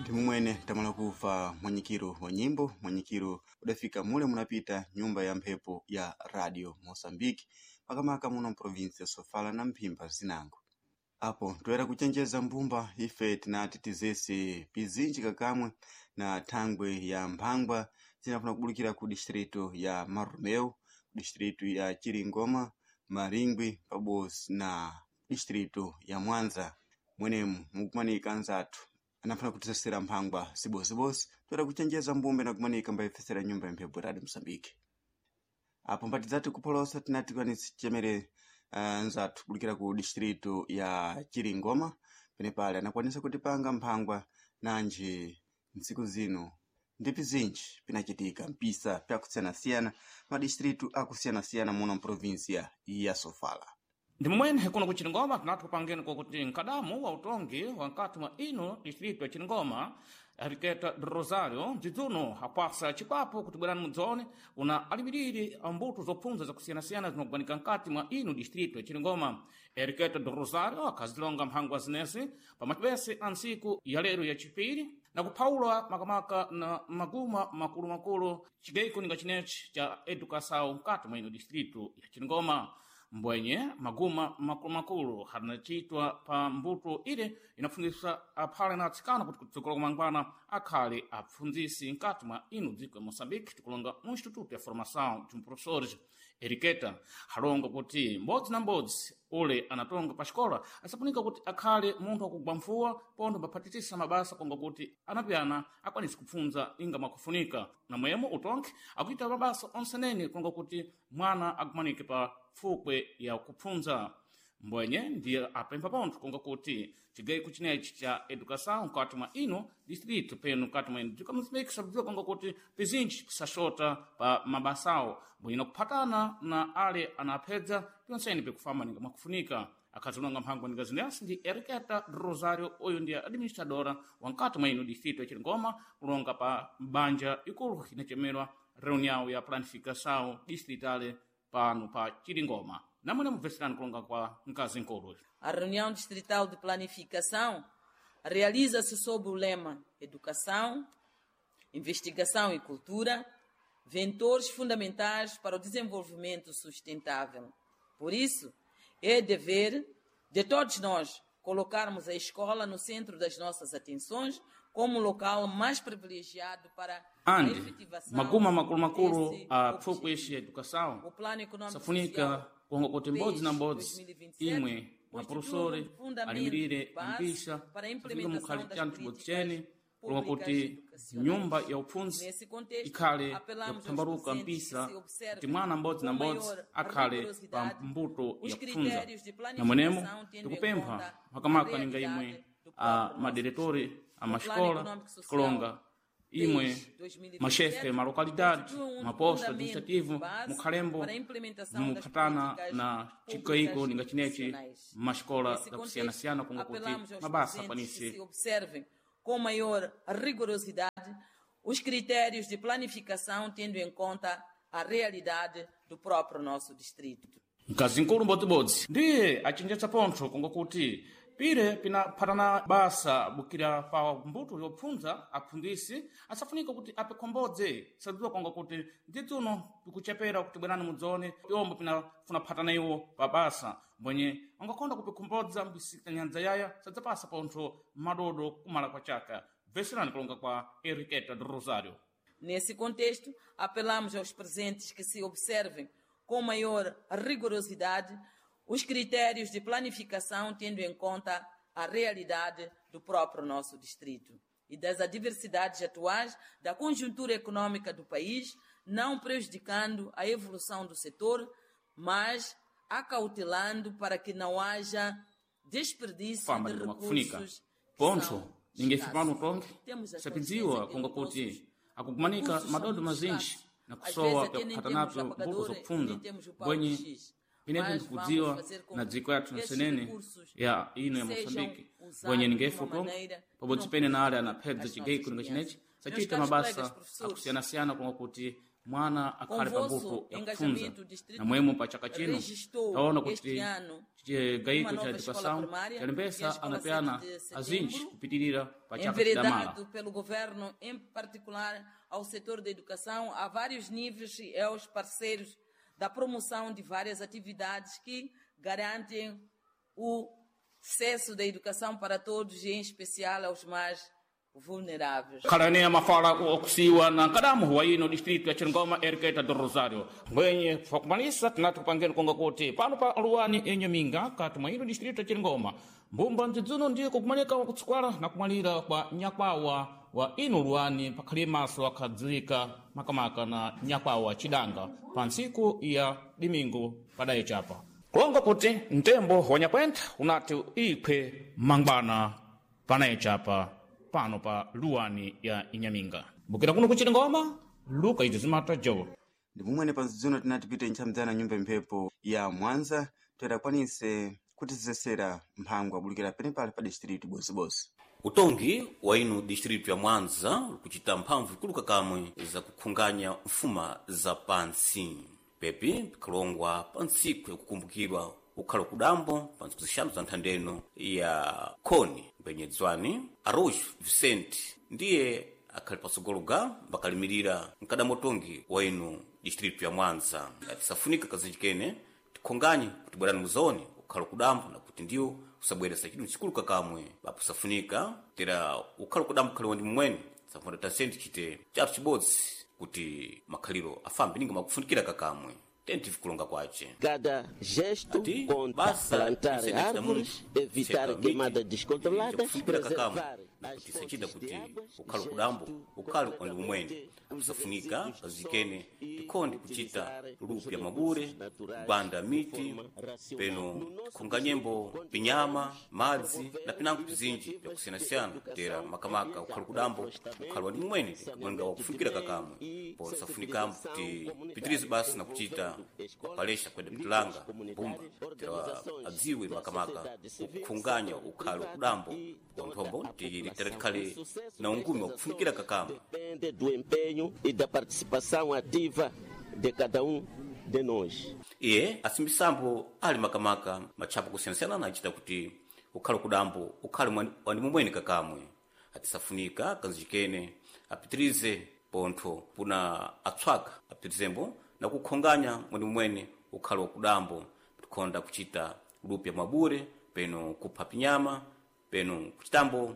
Ndimumwene tamala kuva mwanyikiro wa nyimbo, mwanyikiro udafika mule munapita nyumba ya mphepo ya Radio Moçambique, makamaka muno mprovinsi ya Sofala na Mphimba zinango. Apo toera kuchenjeza mbumba ife tinati tizese pizinji kakamwe na thangwe ya mphangwa zinafuna kubulukira ku distrito ya Marromeu, ku distrito ya Chiringoma, Maringwi pabodzi na distrito ya Mwanza. Mwenemu mukumanika anzathu anafuna kutisesera mphangwa zibozibozi toera kuchenjeza mbumba inakumanika mbayifesera nyumba ya mphepo Radio Moçambique. Apo mpatidzati kupholosa tinati kwanisi chemere nzathu kubulukira ku distrito ya Chiringoma penepale anakwanisa kutipanga mphangwa nanji ntsiku zino ndi pizinji pinachitika mpisa pyakusiyanasiyana madistritu akusiyanasiyana muno mprovinsia ya Sofala. Ndimumwene kuno ku Chiringoma tinati kupangeni kwakuti mkadamu wa utongi wa nkati mwa ino distrito ya Chiringoma Henriqueta do Rosário mdzidzuno akwasa chipapo kuti bwerani mudzone una alimiriri a mbuto zopfunza zakusiyanasiyana zinakubanika nkati mwa ino distrito ya Chiringoma. Henriqueta do Rosário akhazilonga mphangwa zinezi pamacibese a ntsiku ya lero ya chipiri na kuphawula makamaka na maguma makulumakulu chigeiko ninga chinechi cha edukação nkati mwa ino distrito ya Chiringoma. Mbwenye maguma makulumakulu harinacitwa pa mbuto ile inapfundzisa aphale na atsikana kuti kutsogolo kumangwana akhale apfundzisi nkati mwa ino dziko ya Moçambique tikulonga mu Instituto ya Formação de Professores. Eriqueta halonga kuti mbodzi na mbodzi ule anatonga pa xikola asapunika kuti akhale munthu akugwa mfuwa pontho mbaphatitisa mabasa konga kuti anapyana akwanise kupfundza inga mwakufunika namwemo utonke akuita mabasa onsenene konga kuti mwana akumanike pa fukwe ya kupfundza. Mbwenye ndiye apempha pontho konga kuti chigeiko chinechi cha edukação nkati mwa ino distrito peno nkati mwa ino dziko Moçambique sakudziwa konga kuti pizinji pisaxota pa mabasawo mbwenye nakuphatana na ale anaphedza pyonsene pikufamba ninga mwakufunika. Akhazilonga mphangwa ninga zinesi ndi Henriqueta Rosário uyu ndiye administradora wa nkati mwa ino distrito ya Chiringoma kulonga pa banja ikulu inachemerwa reunião ya planificação distritale pano pa Chiringoma. Namwene mubveserani kulonga kwa mkazi nkulu. A reunião distrital de planificação realiza-se sob o lema Educação, Investigação e Cultura, ventores fundamentais para o desenvolvimento sustentável. Por isso, é dever de todos nós colocarmos a escola no centro das nossas atenções como o local mais privilegiado para a Andi efetivação maguma makulumakulu desse a pfukwe objetivo. ixi ya educação O Plano Econômico safunika Social kuonga kuti mbodzi na PES mbodzi 2027 imwe constitui um maprofessori fundamento alimirire base ampisa para a safunika implementação mukhale das chanthu chibodzi políticas chene kulonga públicas kuti educacionais. nyumba ya upfundzi Nesse contexto, ikhale apelamos aos yakuthambaluka docentes que mpisa se kuti observem mwana mbodzi na com mbodzi maior akhale pa rigorosidade mbuto os ya kupfundza. critérios de Namwenemo planificação, tendo em tikupempha conta a makamaka ninga imwe realidade do a próprio nosso madiretori distrito. a O Plano maxikola Econômico Social tikulonga imwe PES 2027 maxefe ma localidade constitui um maposto fundamento administrativo base mukhalembo para a implementação das muphatana políticas na públicas chigaiko ninga chinechi educacionais. maxikola Nesse contexto, zakusiyanasiyana kunga kuti apelamos aos mabasa docentes que akwanise se observem com maior rigorosidade os critérios de planificação, tendo em conta a realidade do próprio nosso distrito. Mkazi nkulu mbodzibodzi ndiye achenjetsa pontho konga kuti pire pinaphatana basa bukira pa mbuto yopfundza apfundzisi asafunika kuti apikhombodze sadziwa konga kuti ndidzuno pikuchepera kuti bwerani mudzone pyombo pinafuna phatana iwo pa basa mbwenye angakonda kupikhombodza mbisika nyandza yaya sadzapasa pontho madodo kumala kwa chaka. Bveserani kulonga kwa Henriqueta do Rosário. Nesse contexto, apelamos aos presentes que se observem com maior rigorosidade os critérios de planificação, tendo em conta a realidade do próprio nosso distrito e das adversidades atuais da conjuntura econômica do país, não prejudicando a evolução do setor, mas acautelando para que não haja desperdício Fama de de makufunika recursos que pontho são ninga ife pano escassos. tonke Temos a sapidziwa consciência que konga kuti nossos akukumanika recursos são madodo muito mazinji escassos. na Às kusowa vezes até nem pyakuphata temos napyo mbuto apagadora, zopfundza nem temos o pau mbwenye de giz. pinepo Mas vamos ndikudziwa fazer com na que dziko yathu esses nsenene recursos ya ino ya sejam Moçambique usados mbwenye de ninga uma ife utonke maneira que pabodzi não pene na ale prejudique anaphedza as chigeiko nossas ninga crianças. chinechi Meus sachita caros colegas mabasa professores, akusiyana-siyana konga kuti Mwana akhale Convosso pambuto ya kufunza engajamento, o distrito namwemo pa chaka chino registrou taona kuti este ano chigaiko uma cha nova escola educação primária, que é a chalembesa Escola anapeana 7 de azinji Setembro, kupitirira pa chaka chidamala. enveredado pelo governo, em particular ao setor da educação, a vários níveis e aos parceiros da promoção de várias atividades que garantem o acesso da educação para todos e, em especial, aos mais vulneráveis. Khalani mafala okusiwa na nkadamu wa ino distrito ya Chingoma Eriketa do Rosário. Mwenye pakumalisa tinati kupangeni konga kuti pano pa luwani enyaminga kati mwa ino distrito ya Chingoma mbumba mdzidzuno ndiye kukumalika kutsukwala na kumalira kwa nyakwawa wa ino luwani pakhali maso akhadzika makamaka na nyakwawa chidanga pa ntsiku ya dimingu padayi chapa kulonga kuti mtembo wa nyakwentha unati ikhwe mangwana panayi chapa pano pa luwani ya inyaminga mbukira kuno kuchita ngoma luka izi zimata jowo Ndi mumwene panzidzuno tinati pite ntchamdzana nyumba mphepo ya Mwanza toyera kutizesera mphango abulukira penepale pa distritu bosibose. Utongi wa inu distritu ya Mwanza ukuchita mphamvu ikuluka kamwe za kukhunganya mfuma za pansi pepi pikhalongwa pa ntsiku yakukumbukirwa ukhala kudambo pa ntsiku zixanu za nthandeno ya khoni mbenyedzwani Arroz Vicente ndiye akhali patsogolo ga mbakalimirira mkadamotongi wa inu distritu ya Mwanza atisafunika kazinji kene tikhonganye kuti bwerani muzoni ukhala kudambo na kuti ndiwo usabweresa chidwi chikuluka kamwe papo safunika tera ukhala kudambo khali wandi mmwene safuna tasenti chite chathu chibodzi kuti makhaliro afambe ninga makufunikira kakamwe tentivi kulonga kwace Cada gesto Ati, conta basa plantar isene chita árvores, munthu, evitar seka queimada miti, descontrolada, chakufunikira kakamwe preservar na as kuti sachita fontes kuti de água, ukhale kudambo gesto ukhale wandi umwene completamente os kusafunika resíduos do kazikene solo e tikhonde kuchita utilizar os lupya recursos mabure naturais kubanda de miti forma racional. peno No nosso tikhonganyembo distrito, pinyama continuamos madzi promover na pinango pizinji iniciativas de byakusiyanasiyana tera educação makamaka ambiental, ukhale kudambo reflorestamento, ukhale wandi mmwene kuwenga wakufunikira saneamento de kakamwe meio e po safunika kuti sensibilização pitirize comunitária, basi na kuchita envolvendo escolas, palestra kwenda líderes pitulanga mbumba comunitários, tera organizações adziwe da makamaka sociedade civil, kukhunganya setor ukhale privado kudambo e toda nthombo a tili tera população. tikhale O sucesso na ungumi destas wakufunikira ações kakamwe depende do empenho e da participação ativa de cada um de nós. Iye asimbisambo ali makamaka matchapo kusiyanasiyana anachita kuti ukhale kudambo ukhale wandi mumwene kakamwe atisafunika kanzikene apitirize pontho puna atswaka apitirizembo na kukhonganya mwandi mumwene ukhale wakudambo tikhonda kuchita lupya mwabure peno kupha pinyama peno kuchitambo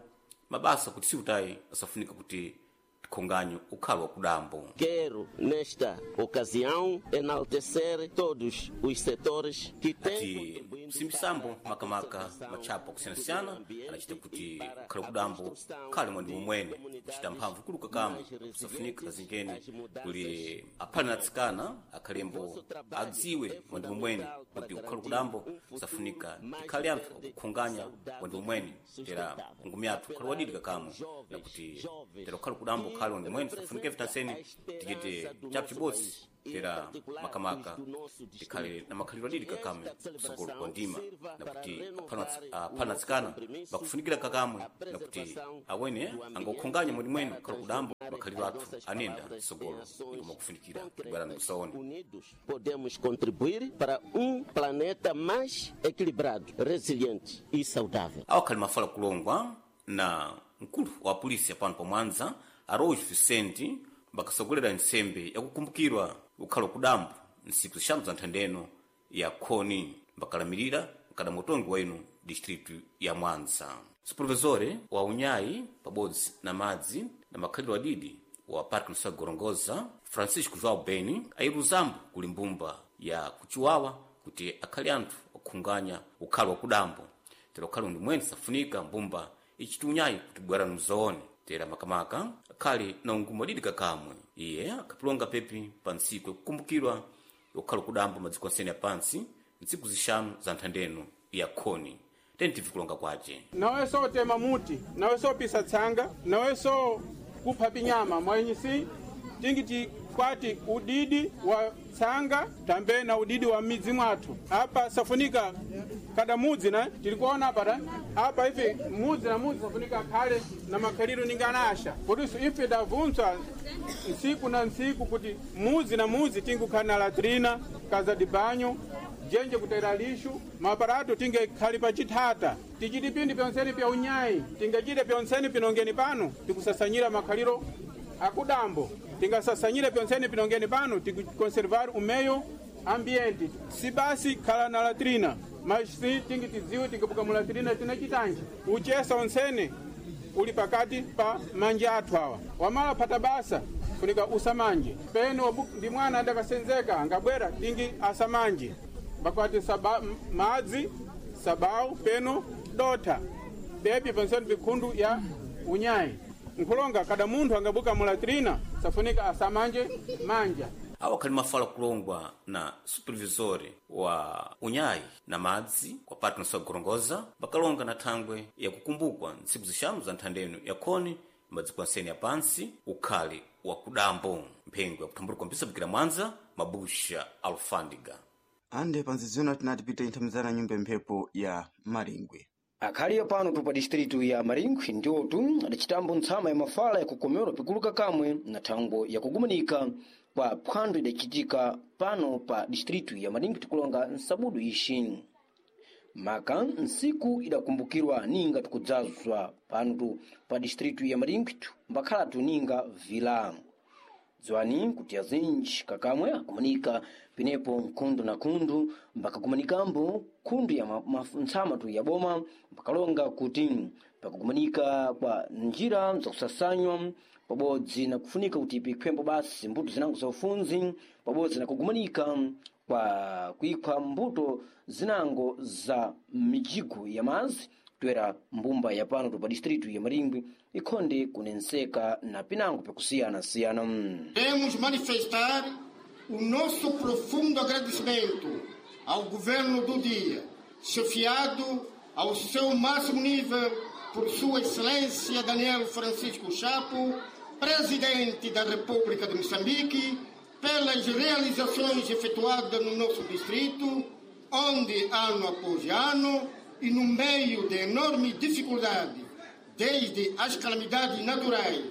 mabasa kuti siutayi asafunika kuti tikhonganye ukhale wakudambo. Quero, nesta ocasião, enaltecer todos os setores que têm Ati contribuído kusimbisambo para a makamaka conservação matchapo do akusiyanasiyana meio ambiente anachita kuti e para ukhale a kudambo construção ukhale mwandi de mumwene comunidades kuchita mphamvu kuluka kamwe mais kusafunika resilientes kazingene às mudanças kuli aphale na atsikana akhalembo Nosso trabalho adziwe é mwandi mumwene fundamental para kuti ukhale garantir kudambo um futuro kusafunika mais tikhale anthu verde, akukhunganya saudável mwandi mumwene e tera sustentável. ngumi yathu ukhale wadidika kamwe Apelar aos na kuti jovens, jovens tera ukhale kudambo que ukhale mwandi mumwene safunika representam vitaseni a esperança tichite do chapu nosso chibodzi país, e em tera particular makamaka os do nosso tikhale distrito. na makhalidwe adidika Que kamwe esta kusogolo celebração kwa ndima sirva na para kuti renovar aphana o nosso atsikana compromisso bakufunikira com kakamwe a na kuti preservação awene do ambiente angokhunganya mwandi mwene para ukhale kudambo transformar makhalidwe as athu nossas anenda palavras em sogolo ações ikoma kufunikira kubwerani concretas. kusaone. Unidos, podemos contribuir para um planeta mais equilibrado, resiliente e saudável. Awakhali mafala kulongwa na mkulu wa polisi pano pa Mwanza Arroz Vicente mbakasogolera nsembe yakukumbukirwa ukhalo kudambo ntsiku zixanu za nthandeno ya khoni mbakalamirira mkadamotongi wa inu distritu ya Mwanza. Supervisore wa unyayi pabodzi na madzi na makhalidwe adidi wa Parque Nacional Gorongosa Francisco João Beni ayiruzambo kuli mbumba ya kuchiwawa kuti akhale anthu okhunganya ukhalo wakudambo tera ukhale ndi mwene safunika mbumba ichiti unyayi kuti bwerani mzoone tera makamaka akhale na ungumu adidika kamwe iye akhapilonga pepi pa ntsiku yakukumbukirwa ukhalo kudambo madziko ansene apansi ntsiku zixanu za nthandeno ya khoni tentivi kulonga kwace. Nawe sotema muti, nawe sopisa tsanga, nawe so kupha pinyama mwenyisi tingi tikwati udidi wa tsanga tambe na udidi wa midzi mwathu apa safunika. Kada mudzi na tilikuona apa ta apa ife mudzi na mudzi safunika akhale na makhaliro ninga anasha potiso ife davuntswa ntsiku na ntsiku kuti mudzi na mudzi tingukhala na latrina kaza di banyo jenje kutera lixu maaparato tinge khali pachithata tichiti pindi pyonseni pya unyayi tingachite pyonseni pinongeni pano tikusasanyira makhaliro akudambo tingasasanyire pyonseni pinongeni pano tikukonservar umeyo ambiente si basi khala na latrina mas si tingi tidziwe tingabuka mu latrina tina chitanji uchesa onsene uli pakati pa manja athu awa wamala phata basa funika usamanje pene ndi mwana adakasenzeka angabwera tingi asamanje bakwati saba, madzi sabau peno dotha bebi ponseni pikhundu ya unyayi nkhulonga kada munthu angabuka mu latrina safunika asamanje manja Awo akhali mafala kulongwa na supervisori wa unyayi na madzi kwa Patnos Gorongoza bakalonga na thangwe yakukumbukwa ntsiku zixanu za nthandeno yakhoni madziko anseni ya pansi ukhali wa kudambo mphengo yakuthambulika mpisabikira mwanza mabusha alfandiga. Ande panzizona tinati pita inthamizana nyumba mphepo ya Maringwe. Akhaliyo pano tu pa distritu ya Maringwe ndiotu adacitambo ntsama ya mafala yakukomerwa pikuluka kamwe na thango yakugumanika kwa phwando idacitika pano pa distritu ya Maringwe tikulonga nsabudu ixi. Maka ntsiku idakumbukirwa ninga tikudzazwa pano tu pa distritu ya Maringwe mbakhalatu ninga vila. Dziwani kuti azinji kakamwe akumanika penepo nkhundu na khundu mbakakumanikambo khundu ya ntsama tu ya boma mbakalonga kuti pakukumanika kwa njira zakusasanywa pabodzi na kufunika kuti pikhwembo basi mbuto zinango za ufunzi pabodzi na kugumanika kwa kuikhwa mbuto zinango za mijigo ya mazi toera mbumba ya pano pa distritu ya Maringwe ikhonde kunenseka na pinango pakusiyana-siyana. Queremos manifestar o nosso profundo agradecimento ao governo do dia, chefiado ao seu máximo nível por Sua Excelência Daniel Francisco Chapo, Presidente da República de Moçambique, pelas realizações efetuadas no nosso distrito, onde ano após ano e no meio de enorme dificuldade, desde as calamidades naturais,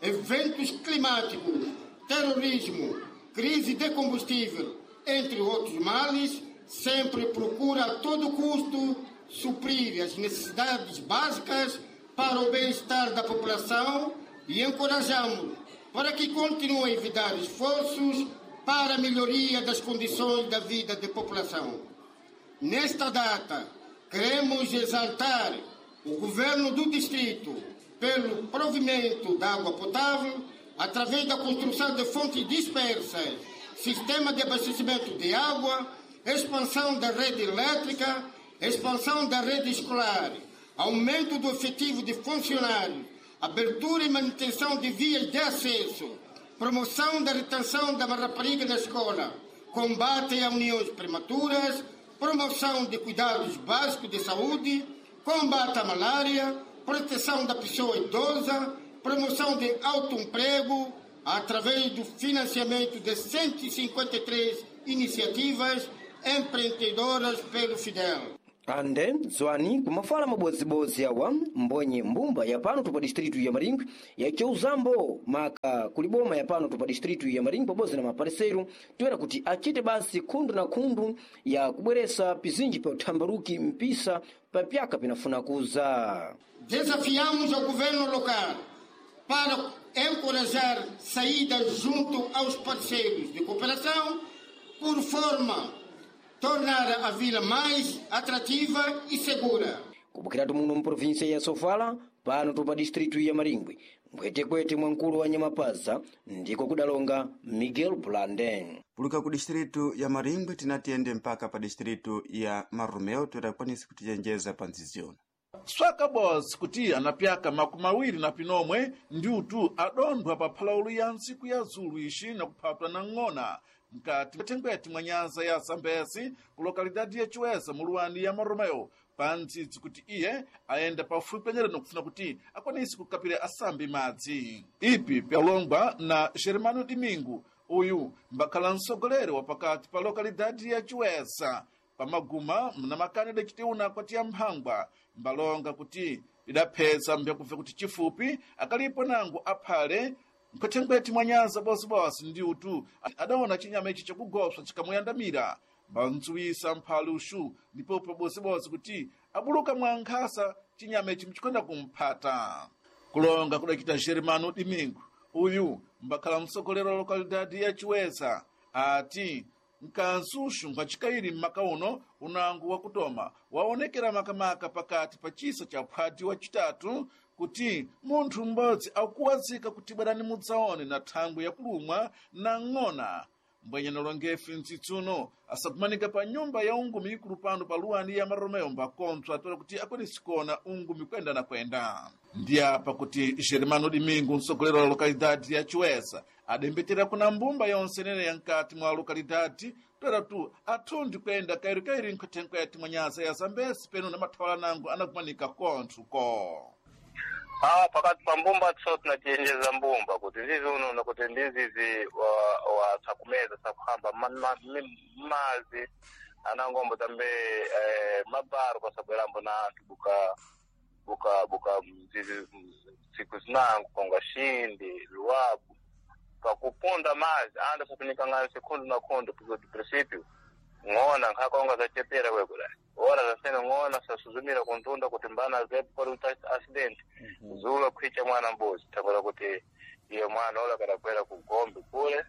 eventos climáticos, terrorismo, crise de combustível, entre outros males, sempre procura a todo custo suprir as necessidades básicas para o bem-estar da população e encorajamos para que continue a evitar esforços para a melhoria das condições da vida da população. Nesta data, queremos exaltar o governo do distrito pelo provimento da água potável através da construção de fontes dispersas, sistema de abastecimento de água, expansão da rede elétrica, expansão da rede escolar, aumento do efetivo de funcionários, abertura e manutenção de vias de acesso, promoção da retenção da rapariga na escola, combate a uniões prematuras, promoção de cuidados básicos de saúde, combate à malária, proteção da pessoa idosa, promoção de autoemprego, através do financiamento de 153 iniciativas empreendedoras pelo Fidel. Ande zwani kumafala mabodzibodzi awa mbonye mbumba ya pano tupa distritu ya Maringwe yacheuzambo maka kuliboma ya pano tupa distritu ya Maringwe pabodzi na mapareseru toera kuti achite basi khundu na khundu ya kubweresa pizinji pa uthambaruki mpisa pa pyaka pinafuna kuza. Desafiamos ao governo local para encorajar saídas junto aos parceiros de cooperação por forma tornar a vila mais atrativa e segura. Kupukiratu muno mprovinsia ya Sofala pano tupa distritu ya Maringwe mkwetekwete mwa mkulu wa Nyamapaza ndiko kudalonga Miguel Blanden. Puluka ku distritu ya Maringwe tinatiyende mpaka pa distritu ya Marumeo toera kwanisi kutichenjeza pa nziziona. Swaka Boss kuti anapyaka makumi awiri na pinomwe ndiutu adondwa pa phalaulu ya ntsiku ya zulu ixi na kuphatwa na ng'ona mkati mthengweti mwa nyanza ya Zambezi ku lokalidade ya Chiweza muluwani ya Maromeo pa ntsitsi kuti iye ayenda pafupi penyereno kufuna kuti akwanise kukapira asambi madzi. Ipi pyalongwa na Germano Domingo, uyu mbakhala mtsogoleri wa pakati pa lokalidade ya Chiweza. Pamaguma mnamakani adacitiuna kwatiya mphangwa mbalonga kuti lidapheza mbyakuve kuti chifupi akalipo nangu aphale nkhwethenkhwethe mwa nyanza bosibose ndi utu adaona chinyama ichi chakugoswa chikamuyandamira mbantsuwisa mphale uxu ndipo bosibose kuti abuluka mwa nkhasa chinyama ichi mchikonda kumphata. Kulonga kudacita Germano Domingo, uyu mbakhala mtsogoleri wa lokalidade ya Chiweza, ati mkansuxu nkhwacikairi mmaka uno unango wakutoma waonekera makamaka pakati pa chisa cha phwati wacitatu kuti munthu m'bodzi akuwazika kuti bwerani mudzaone na thangwi yakulumwa na ng'ona. Mbwenyana longefe mtsitsuno asakumanika pa nyumba ya ungumi ikulu pano pa luwani ya Maromeo mbakontswa atola kuti akwanisi kuona ungumi kwenda na kwenda. Ndi apa kuti Germano Domingo, mtsogoleri wa lokalidade ya Chiweza, adembetera kuna mbumba yonse inene ya mkati mwa lokalidade toera tu athundi kuyenda kairikairi nkhwethenkhwethe mwa nyanza ya Zambesi peno na mathawala nango anakumanika konthuko. Ah, pakati pa mbumba tso tinachenjeza mbumba kuti zizi unono kuti ndizizi wa sakumeza sakuhamba mazi anangombo tambe mabaro kwasabwerambo na anthu buka buka buka zizi siku zinango konga Xindi Luabu pakupunda mazi anda sakunikangana sekundu na kundu kuti princípio ng'ona nkhakonga zachepera kwekula ora zasene ng'ona sasuzumira kuntunda kuti mbana zepo pali kuti accident zulo khwicha mwana mbuzi thangwera kuti iye mwana ola kadakwera ku gombe kule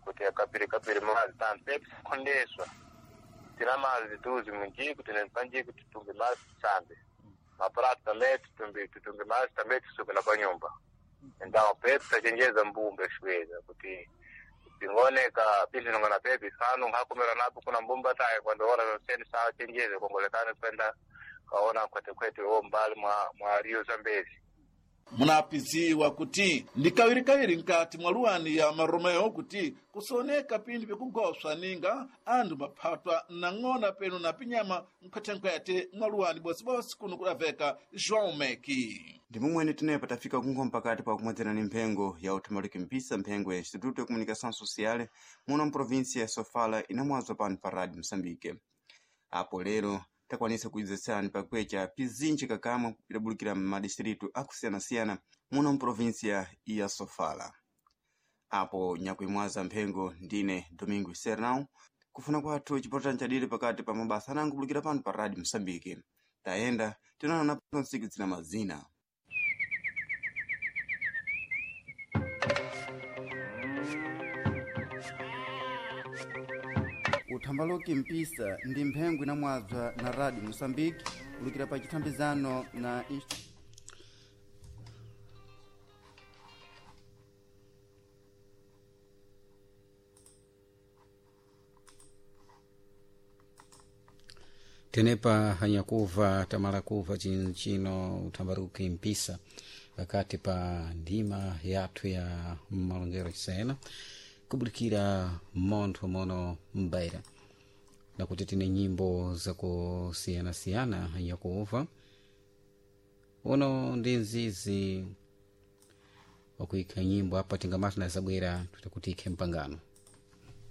kuti akapiri kapiri mazi tampepi sakhondeswa tina mazi tuzi munjiku tine panjiku titumbe mazi tisambe maprato tambe titumbe titumbe mazi tambe tisuke na panyumba então pepi tachenjeza mbumba xiweza kuti tingoneka pizinongana pepi sanu nkhakumira napo kuna mbumba tayi kwando ora zonseni sachenjeze kongolekani kwenda kaona khwetekhwete wo mbali mwa mwa Rio Zambezi. Munapiziwa kuti ndi kawirikawiri mkati mwa luwani ya Maromeo kuti kusoneka pindi pikugoswa ninga anthu maphatwa na ng'ona peno na pinyama nkhwethenkhwethe mwa luwani bosibose kuno kudaveka João Meki. Ndi momwene tenepa tafika kunkhoma pakati pa kumwedzerani mphengo ya uthambaluki mpisa, mphengo ya Instituto ya Comunicação Social muno mprovinsia ya Sofala inamwazwa pano pa Rádio Moçambique. Apo lero takwanisa kuidzetsani pakwecha pizinji kakamwe idabulukira m'madistritu akusiyanasiyana muno mprovinsia ya Sofala. Apo nyakuimwaza mphengo ndine Domingo Sernão, kufuna kwathu chipotani chadiri pakati pa mabasa anango kubulukira pano pa Rádio Moçambique. Tayenda tinaona ntsiku zina mazina. Uthambaloki mpisa ndi mphengo inamwadzwa na Radio Moçambique kulukira pa chithambizano na Tenepa hanyakuva tamala kuva chino uthambaruki mpisa pakati pa ndima yathu ya malongero chisena kubulikira montho mono mbaira nakuti tine nyimbo zakusiyanasiyana hanyakuva uno ndi mzizi wakuikha nyimbo apa tingamati nazabwera tutakuti ikhe mpangano.